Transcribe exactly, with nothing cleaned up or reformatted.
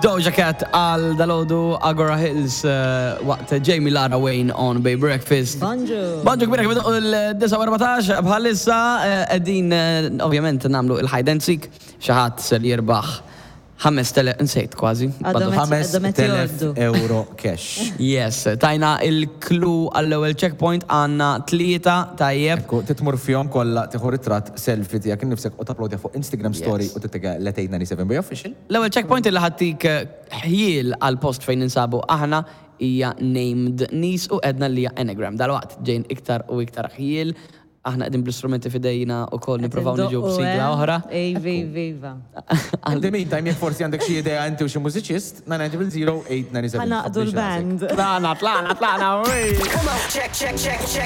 Doja Cat għal dalgħodu Agora Hills eh, waqt Jamie Lara Wayne on Bay Breakfast. Bonġu. Bonġu kbira kif il-disgħa u erbatax bħalissa eh, qegħdin eh, ovvjament nagħmlu il-hide and seek, xi ħadd se li jirbaħ ħamest elef, nsejt kważi. Għadhom Badu- qed- għadhom qed ħames t'elef jgħoddu. euro cash. Yes, tajna il-clue għall-ewwel checkpoint, għandna tlieta, tajjeb. Ekku, titmur fihom kollha, tieħu ritratt selfie tiegħek innifsek u tapplodja fuq Instagram story Yes. u titega l-eight nine seven Bay Official. L-ewwel checkpoint illi ħa ttik ħjiel għal post fejn ninsabu aħna hija named nies u għedna li hija anagram. Dalwaqt ġejn iktar u iktar ħjiel. Aħna qegħdin bl-istrumenti f'idejna u koll nippruvaw niġu b'sigla oħra. Ej, viva. In the meantime, jekk forsi għandek xi idea inti u xi mużiċist, nine nine zero eight nine seven. Ħa nagħqdu l-band. Tlaqna, tlaqna, tlaqna, uy. Come on, check, check, check, check.